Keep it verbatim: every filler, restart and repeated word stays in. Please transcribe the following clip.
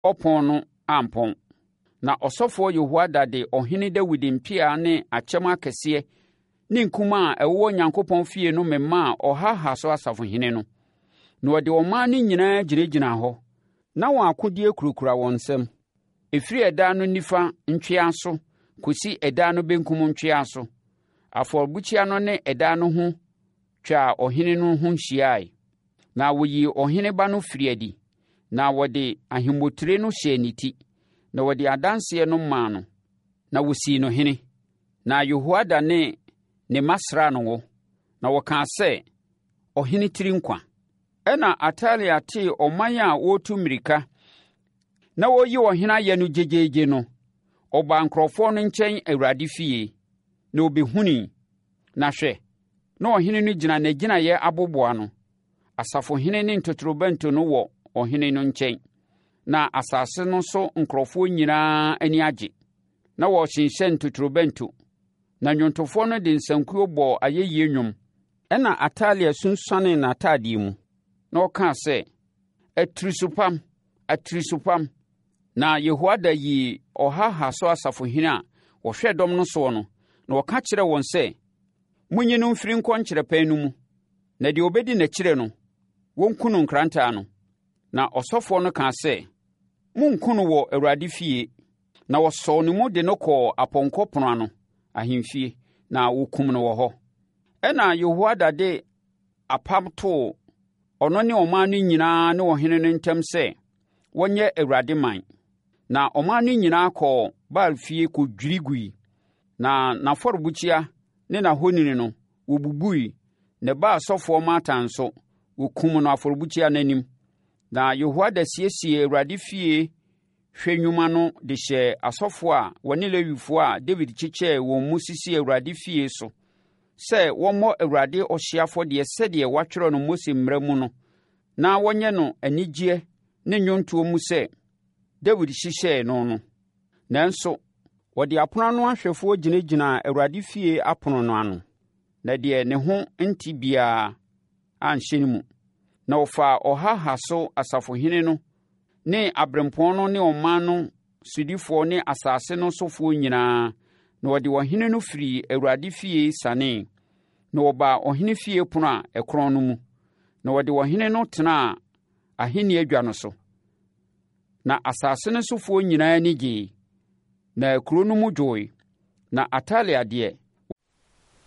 ɔpono no ampɔn. Na ɔsɔfoɔ Yehoiada de ɔhene Dawid mpea ne akyɛm akɛseɛ ne nkumaa a ɛwowɔ Onyankopɔn fie no memaa ɔha ha so asafohene no. Na ɔde ɔman no nyinaa gyinagyinaa hɔ. Na wɔn akodeɛ kurakura wɔn nsam, ɛfiri ɛdan no nifa ntweaso kɔsi ɛdan no benkum ntweaso. Afɔrebukyia no ne ɛdan no ho twaa ɔhene no ho hyiae. Na wɔyii ɔhene ba no firii adi, na wɔde ahemmotire no hyɛɛ ne ti, na wɔde adanseɛ no maa no, na wɔsii no hene. Na Yehoiada ne ne mma sraa no ngo, na wɔkaa sɛ, Ɔhene tiri nkwa. Ɛnna Atalia tee ɔman a wɔretu mmirika na wɔreyi ɔhene ayɛ no gyegyeegye no, ɔbaa nkurɔfoɔ no nkyɛn Awurade fie, na ɔbɛhunui. Na hwɛ, na ɔhene no gyina n'agyinaeɛ aboboano. Asafohene ne ntotorobɛnto no wɔ ɔhene no nkyɛn. Na asase no so nkurɔfoɔ nyinaa ani agye. Na wɔrehyenhyɛn ntotorobɛnto. Na nnwontofoɔ no de nsankuo bɔɔ ayɛyie nnwom. Ɛnna Atalia sunsuanee n'atadeɛ mu, na ɔkaa sɛ, Atirisopam! Atirisopam! Na Yehoiada yii ɔha ha so asafohene a wɔhwɛ dɔm no soɔ no, na ɔka kyerɛɛ wɔn sɛ, Monyi no mfiri nkɔ nkyerɛpɛn no mu, na deɛ ɔbɛdi n'akyire no, wɔnku no nkrantɛ ano. Na ɔsɔfoɔ no kaa sɛ, Monnku no wɔ Awurade fie. Na wɔsɔɔ ne mu de no kɔɔ apɔnkɔ pono ano, ahemfie, na wɔkum no wɔ hɔ. Ɛnna Yehoiada de apam too ɔno ne ɔman no nyinaa ne ɔhene no ntam sɛ wɔnyɛ Awurade man. Na ɔman no nyinaa kɔɔ Baal fie kɔdwiri gui, na n'afɔrebukyia ne n'ahoni no, wɔbubui. Ne ba sɔfoɔ Matan nso, wɔkum no afɔrebukyia no anim. Na Yehoiada siesiee Awurade fie hwɛ nnwuma no de hyɛɛ asɔfoɔ a wɔne Lewifoɔ a Dawid kyekyɛɛ wɔn mu sisii Awurade fie so sɛ wɔmmɔ Awurade ɔhyeɛ afɔdeɛ sɛdeɛ wɔatwerɛ no Mose mmara mu no, na wɔnyɛ no anigyeɛ ne nnwontoɔ mu sɛ Dawid hyehyɛɛ no no. Nanso, wɔde apono ano ahwɛfoɔ gyinagyinaa Awurade fie apono no ano, na deɛ ne ho nte biara anhyɛne mu. Na wɔfaa ɔha ha so asafohene no ne aberempɔn no ne ɔman no sodifoɔ ne asase no sofoɔ nyinaa, na wɔde ɔhene no firii Awurade fie sianee, na wɔbaa ɔhene fie pono a ɛkorɔn no mu, na wɔde ɔhene no tenaa ahennie adwa no so. Na asase no sofoɔ nyinaa ani gyee, na kuro no mu dwoe. Na Atalia deɛ,